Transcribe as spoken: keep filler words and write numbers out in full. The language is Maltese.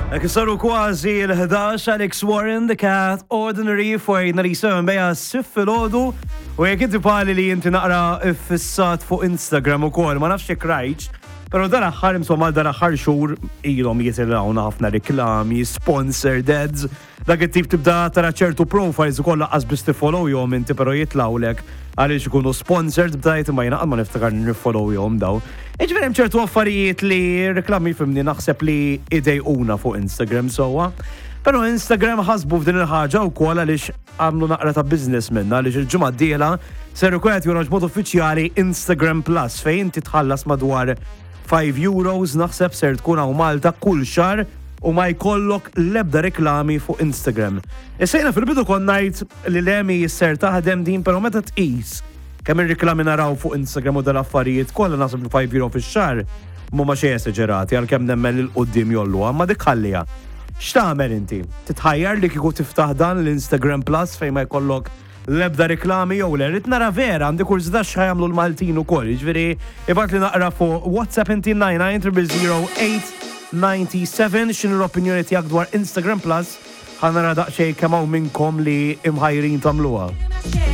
Hekk saru kważi l-ħdax. Alex Warren, The Cat, Ordinary for ninety-seven beja sif filgħodu. U jekk inti bħali li inti naqra fissat fuq Instagram ukoll, ma nafx jekk rajtx, pero dan aħħar, insomma, dan aħħar xhur ilhom jitilgħuna ħafna reklami, sponsored ads, dak it-tip. Tibda tara ċertu profiles ukoll lanqas biss tiffollowjhom inti, però jitlawlek għaliex ikunu sponsored bdajt, ma jiena ma niftakar niffollowjhom daw. Iġifieri hemm ċertu affarijiet li reklami, fhimni, naħseb li idejquna fuq Instagram sowa. Pero Instagram ħasbu f'din il-ħaġa wkoll għaliex għamlu naqra ta' business minna, għaliex il-ġimgħa d-dieħla ser ikun qed joħroġ mod uffiċjali Instagram Plus, fejn inti tħallas madwar five euros, naħseb ser tkun hawn Malta, kull xahar u ma jkollok lebda reklami fuq Instagram. Issa jiena fil-bidu kont ngħid li lemi jisser taħdem din, pero meta tqis kemm ir-reklami naraw fuq Instagram u dal-affarijiet kollha, naħseb li five euro fix-xahar mhuma xejn esaġerati, għalkemm nemmen 'il quddiem jgħolluha, ma dik ħalliha. X'tagħmel inti? Titħajjar li kieku tiftaħ dan l-Instagram Plus fejn ma jkollok l-ebda reklami jew le? Rrid nara vera, għandi kurżità x'ħa jagħmlu l-Maltin ukoll. Jiġifieri ibgħatli naqra fuq WhatsApp inti nine nine zero zero eight nine seven x'inhu l-opinjoni tiegħek dwar Instagram Plus. Ħa nara daqsxejn kemm hawn minnkom li imħajrin tagħmluha.